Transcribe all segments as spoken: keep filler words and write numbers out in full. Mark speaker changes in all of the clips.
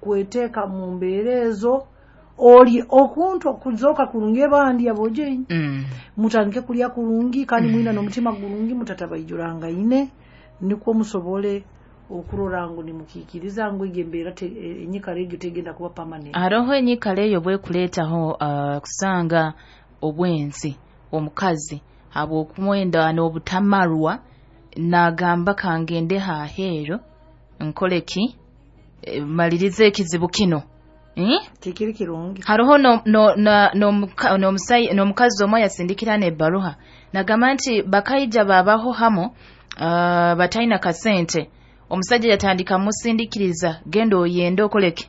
Speaker 1: Kweteeka mu mbeera ezo oli okuntu okuzoka kurungi abandi abojenyi
Speaker 2: mm.
Speaker 1: Mutandike kulya kurungi kandi mm. Mwina n'omutima gurungi mutatabaijuranga nikwo musobole okurora ngu nimukikiriza ngu egyo embeera enyikara egyo tegenda kuba permanent.
Speaker 2: Haroho enyikara eyo bwekuleetaho uh, kusanga obwenzi omukazi habw'okumwenda n'obutamarwa nagamba kangende haheero nkoleki e, malirize ekizibu kino. Eh?
Speaker 1: Tikiri kirungi.
Speaker 2: Haroho no no na no n'omukazi omwe yasindikira n'ebbaruha nagamba nti bakaija babaho hamo uh, bataina kasente. Omusajja yatandika musindikiriza genda oyende okoleke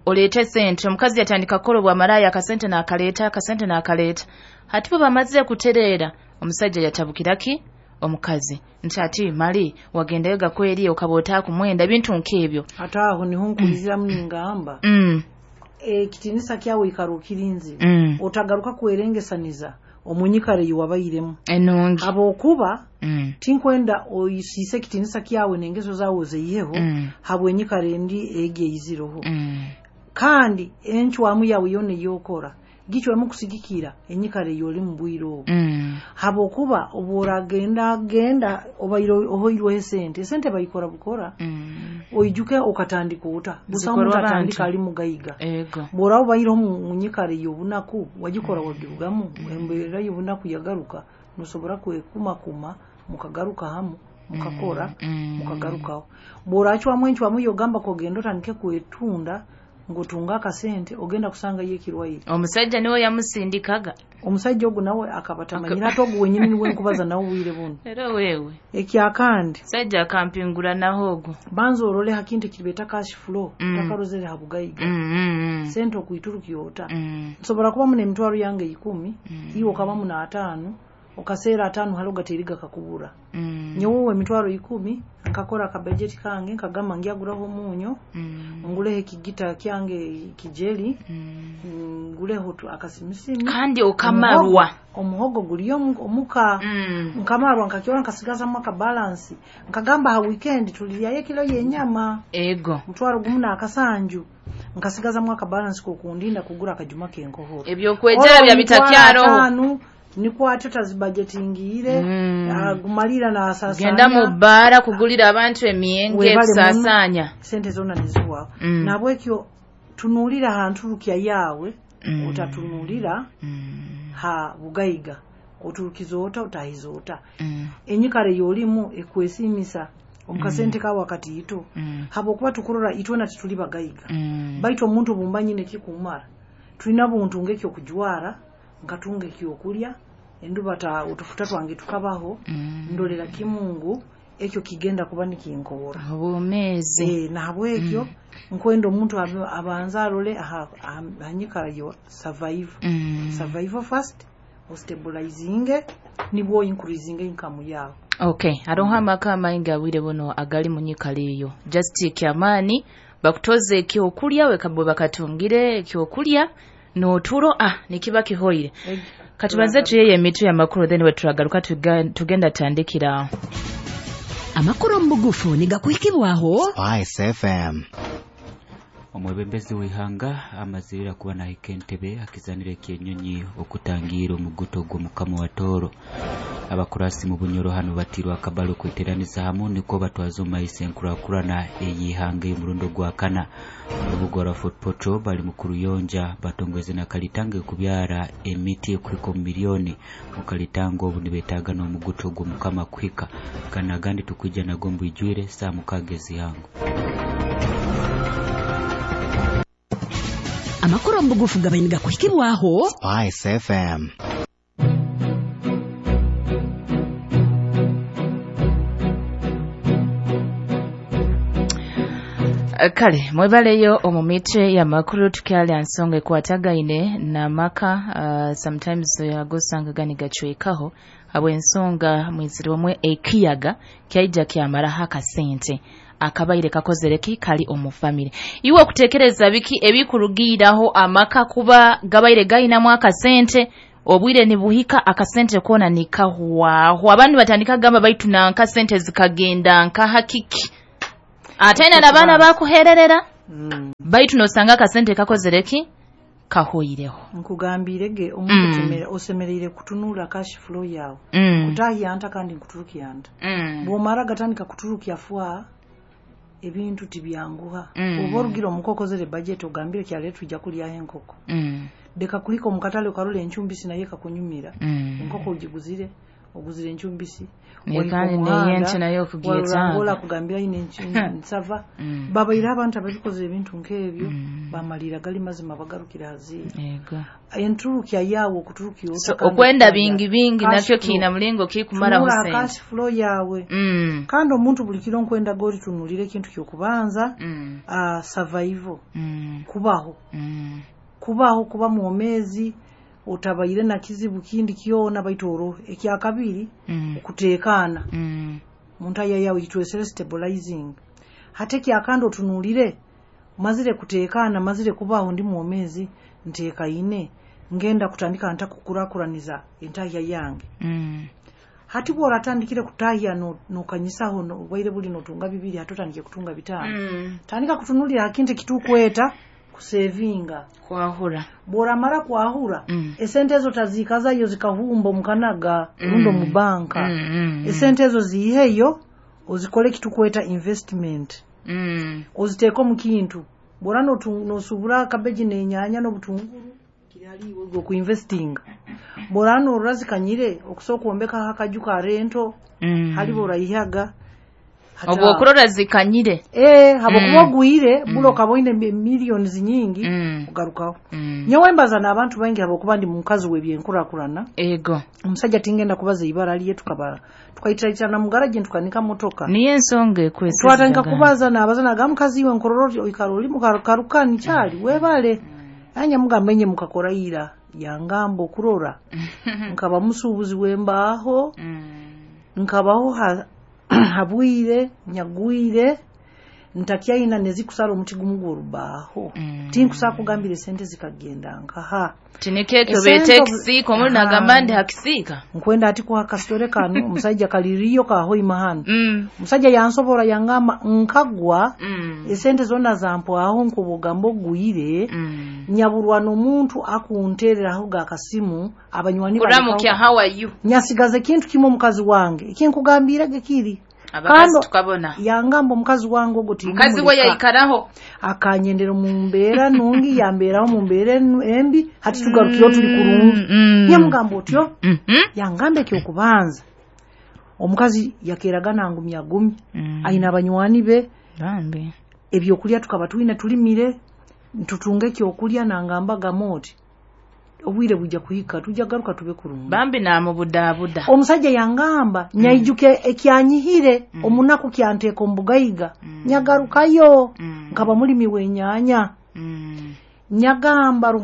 Speaker 2: oleete sente. Omukazi yatandika kukola obwamaraya akasente n'akaleeta akasente n'akaleeta. Hati bwe bamaze kutereera omusajja yatabukiraki omukazi nti ati mali wagendayo gakweri okaba otaakumwenda ebintu nk'ebyo.
Speaker 1: Ate aho niho nkuriziramu ningamba
Speaker 2: mm.
Speaker 1: Ekitinisa kyawe ikara okirinzire
Speaker 2: mm.
Speaker 1: Otagaruka kwerengesaniza omunyikara eyi wabairemu
Speaker 2: enungi
Speaker 1: habwokuba
Speaker 2: mm.
Speaker 1: Tinkwenda oyisiise ekitinisa kyawe n'engeso zawe ozeyiheho
Speaker 2: mm.
Speaker 1: Habwenyikara endi egi eiziroho
Speaker 2: mm.
Speaker 1: Kandi encwamu yawe yona eyokora gicwemu kusigikira enyikara eyoli mu bwire obwo
Speaker 2: mm.
Speaker 1: Habwokuba obworagenda genda obaire ohoirweho esente esente bayikora bukora
Speaker 2: mm.
Speaker 1: Oijuke okatandika ota busaho
Speaker 2: Zikorwa
Speaker 1: omuntu
Speaker 2: abantu.
Speaker 1: Atandika ali mugaiga.
Speaker 2: Ego
Speaker 1: Bw'oraba obaireho mu nyikara ey'obunaku wagikora wagirugamu embeera y'obunaku yagaruka nosobora kwekumakuma mukagaruka hamu mukakora
Speaker 2: mm.
Speaker 1: Mukagarukaho bw'oracwamu encwamu yogamba kogenda otandike kwetunda ngutunga akasente ogenda kusanga yekirwaire.
Speaker 2: Omusajja niwe yamusindikaga.
Speaker 1: Omusajja ogu nawe akaba tamanyira ate ogu wenyini niwe nkubaza nawe obwire buno.
Speaker 2: Era wewe
Speaker 1: Ekyakandi
Speaker 2: musajja akampingura naho ogu
Speaker 1: banza orole ha kintu ekiribeeta cash flow
Speaker 2: Mm.
Speaker 1: Otakarozere ha bugaiga
Speaker 2: mm, mm,
Speaker 1: sente okuiturukya ota
Speaker 2: mm.
Speaker 1: Nsobora kubamu n'emitwaro yange ikumi
Speaker 2: Mm.
Speaker 1: iwe okabamu n'ataano okaseera ataano hali ogateeriga kakubura
Speaker 2: Mm.
Speaker 1: nyowe emitwaro ikumi nkakora akabajeti kange nkagamba ngyaguraho omunyo
Speaker 2: Mm.
Speaker 1: nguleho ekigita kyange kijeri
Speaker 2: Mm.
Speaker 1: nguleho tu- akasimisimi
Speaker 2: kandi okamarwa
Speaker 1: omuhogo guli omu- omuka
Speaker 2: mm.
Speaker 1: nkamarwa nkakyora nkasigazamu akabalansi nkagamba ha weekend tuliryayo ekilo y'enyama
Speaker 2: Ego
Speaker 1: mutwaro gumu n'akasanju nkasigazamu akabalansi kokundinda kugura akajuma k'enkohoro
Speaker 2: ebyokwejera bya bitakyaroho
Speaker 1: nikwatyo tazibajetingiire
Speaker 2: Mm.
Speaker 1: agumalira n'asaasaanya
Speaker 2: genda mu bbaara kugulira abantu emyenge
Speaker 1: Webale muno.
Speaker 2: kusaasaanya
Speaker 1: Sente zonna neziwaawo
Speaker 2: Mm.
Speaker 1: nabwekyo tunuulira ha nturukya yaawe
Speaker 2: Mm.
Speaker 1: otatunuulira
Speaker 2: Mm.
Speaker 1: ha bugaiga oturukiza ota otahiza ota
Speaker 2: Mm.
Speaker 1: enyikara ey'olimu ekwesiimisa omukasente kawe akatiito
Speaker 2: Mm.
Speaker 1: habwokuba tukurora itwena tituli bagaiga
Speaker 2: Mm.
Speaker 1: baitu omuntu obumba nyine ekikumara tulina buntu ng'ekyokujwara nkatunga ekyokulya enduba ta otufuta twange tukabaho
Speaker 2: Mm.
Speaker 1: ndolera kimu ngu ekyo kigenda kuba nikinkoora
Speaker 2: Obwomeezi
Speaker 1: e, nahabwekyo nkwenda omuntu abe- abanze arole aha- aha aha nyikara yo survive
Speaker 2: Mm.
Speaker 1: survival first ostabilizinge nibwo increasing income yawe.
Speaker 2: Okay haroho amaka amaingi abwire buno agali mu nyikara eyo just kyamaani bakutoze ekyokulya wekabwe bakatungire ekyokulya n'oturo ah nikiba kihoire. Katubanze tuyeye emitwe y'amakuru then weturagaruka tuga- tugenda tandikira
Speaker 3: amakuru omu bugufu nigakuhikibwaho
Speaker 4: Spice F M.
Speaker 5: Omwebembezi w'ihanga amazirira kuba nahika entebe akizanira ekyenyonyi okutangira omuguto gw'omukama wa Tooro. Abakurasi mu Bunyoro hano batirwa akabalo kweteraniza hamu niko batwaza omu maiso enkurakurana ey'ihanga ey'omurundo gwa kana. Orubuga rwa Fort Portal bali mu kuruyonja batongweze na kalitanga ekubyara emiti ekuhika omu miliyoni mu kalitanga obu nibetaaga n'omuguto gw'omukama kuhika kana agandi tukwija nago mbwijwire saa mukaaga ez'ihango.
Speaker 3: Amakuru omu bugufu gabaire nigakuhikibwaho
Speaker 4: Spice F M.
Speaker 2: Kale mwebaleyo omu mitwe y'amakuru tukyali nsonga ekwatagaine n'amaka uh, sometimes agosanga gani gacwekaho habw'ensonga mwizirwemwe ekiyaga kyaija kyamaraho akasente akabaire kakozere ki kali omu famire. Iwe okutekereza biki ebikurugiiraho amaka kuba gabaire gayinamu akasente obwire nibuhika akasente kona nikahwaho abantu batandika gamba baitu nanka sente zikagenda nka hakiki ate na n'abaana bakuhererera.
Speaker 1: Mm.
Speaker 2: Baitu nosanga akasente kakozere ki kahoireho.
Speaker 1: Nkugambire ge omuntu mm. osemereire kutunula cash flow yawe.
Speaker 2: Mm.
Speaker 1: Kutahya nta kandi nkuturukya nta.
Speaker 2: Mm.
Speaker 1: Bwomara gatandika kuturukya fwa ebintu tibyanguha.
Speaker 2: Mm.
Speaker 1: Oba orugira omukokozere budget ogambire kyale tujja kulya enkoko.
Speaker 2: Mm.
Speaker 1: Deka kuhika omukatale okarole enchumbisi naye kakunyumira.
Speaker 2: Mm.
Speaker 1: Enkoko ugiguzire oguzire enchumbisi.
Speaker 2: Kandi neyenche nayo okugyetaaga.
Speaker 1: Kugambira ine nsava.
Speaker 2: Mm.
Speaker 1: Babaire abantu ababikoze ebintu nk'ebyo
Speaker 2: Mm.
Speaker 1: bamalira gali mazima bagarukira haziira.
Speaker 2: Yego.
Speaker 1: Enturukya yawe okuturukya
Speaker 2: So, okwenda bingi bingi nakyo kiina mulingo kikumaraho sente.
Speaker 1: Cash flow yawe.
Speaker 2: Mm.
Speaker 1: Kandi omuntu buli kiro nkwenda gori tunulire ekintu kyokubanza
Speaker 2: Mm.
Speaker 1: uh, survival.
Speaker 2: Mm.
Speaker 1: Kubaho.
Speaker 2: Mm.
Speaker 1: Kubaho kuba mwomezi otabaire na kizibu kindi kyona baitu oro ekyakabiri
Speaker 2: Mm.
Speaker 1: okuteekaana
Speaker 2: Mm.
Speaker 1: muntu ayayawe kitwesere stabilizing hate kyakandi otunulire mazire kuteekaana mazire kubaho ndi mwomezi nteekaine ngenda kutandika nta kukurakuraniza entahya yange.
Speaker 2: Mm.
Speaker 1: Hati bw'oratandikire kutahya nokanyisaho no, obwaire buli notunga bibiri hati otandike kutunga bitaano.
Speaker 2: Mm.
Speaker 1: Tandika kutunulira hakintu ekitukweta kusevinga
Speaker 2: kwahura
Speaker 1: bworamara kwahura
Speaker 2: Mm.
Speaker 1: esente ezo tazikazayo zikahumba omukanaga
Speaker 2: Mm.
Speaker 1: rundi omu banka.
Speaker 2: Mm, mm, mm.
Speaker 1: Esente ezo ziiheyo ozikole ekitukweta investment.
Speaker 2: Mm.
Speaker 1: Oziteeke omu kintu bwora nosubura kabeji n'enyaanya n'obutunguru kiri haliiwe gwe okuinvestinga bwora norora zikanyire okusobola kwombekaho akaju ka rento.
Speaker 2: Mm.
Speaker 1: Halibo oraihaga
Speaker 2: obwo okurora zikanyire
Speaker 1: eh habokuba
Speaker 2: Mm.
Speaker 1: ogwire
Speaker 2: Mm.
Speaker 1: bula okaba oine millions nyingi
Speaker 2: Mm.
Speaker 1: ogarukaho.
Speaker 2: Mm.
Speaker 1: Nyowe mbaza n'abantu baingi habwokuba ndi mukazi w'ebyenkurakurana.
Speaker 2: Ego.
Speaker 1: Omusajja tingenda kubaza ibara lye tukaba tukaitiraitana mu garage ntukanika motoka.
Speaker 2: Niyo ensonga ekwesa
Speaker 1: Twatandika kubaza nabaza naga mukazi iwe nkorora oikara oli mukarukani kyali webale. Anya mugamba enye mukakora ira yangamba okurora nkaba musuubuzi w'embaaho.
Speaker 2: Mm.
Speaker 1: Nkabaho ha habwire nyagwire ntakyaina nezikusala omuti gumu gw'orubaaho.
Speaker 2: Mm.
Speaker 1: Tinkusaa kugambira esente zikagenda nkaha
Speaker 2: tinikekyo
Speaker 1: Esente
Speaker 2: beete
Speaker 1: obu-
Speaker 2: ekisiika omuli nagamba ndi hakisiika
Speaker 1: nkwenda ati kuha kasitore kano omusajja kaliriyo kahoima hano.
Speaker 2: Mm.
Speaker 1: Omusajja yansobora yangamba nkagwa
Speaker 2: Mm.
Speaker 1: esente zonna zampwaho nkobugamba ogwire.
Speaker 2: Mm.
Speaker 1: Nyaburwa n'omuntu akuntereraho gakasimu abanywani
Speaker 2: kuramukya how are you
Speaker 1: nyasigaza ekintu kimwe omukazi wange ekinkugambira gekiri
Speaker 2: abakazi
Speaker 1: Kando-
Speaker 2: tukabona
Speaker 1: yangamba omukazi wange ogwo
Speaker 2: mukazi we yaikaraho
Speaker 1: akanyendera mu mbeera nungi yambeeraho mu mbeera embi hati tugarukire tuli kurungi.
Speaker 2: Mm.
Speaker 1: Yamugamba otyo
Speaker 2: Mm -hmm.
Speaker 1: yangamba ekyokubanza omukazi yakeraga nangumya gumya.
Speaker 2: Mm.
Speaker 1: Aina abanywani be
Speaker 2: bambi
Speaker 1: ebyokulya tukaba twine tulimire ntutunga ekyokulya nangamba gamoti obwire bujja kuhika tujja garuka tube kurungi.
Speaker 2: Bambi namubudaabuda
Speaker 1: omusajja yangamba mm. nyaijuke ekyanyihire
Speaker 2: Mm.
Speaker 1: omunaku kyanteeka omubugaiga
Speaker 2: Mm.
Speaker 1: nyagarukayo
Speaker 2: Mm.
Speaker 1: nkaba mulimi w'enyaanya
Speaker 2: Mm.
Speaker 1: nyagamba Ruhanga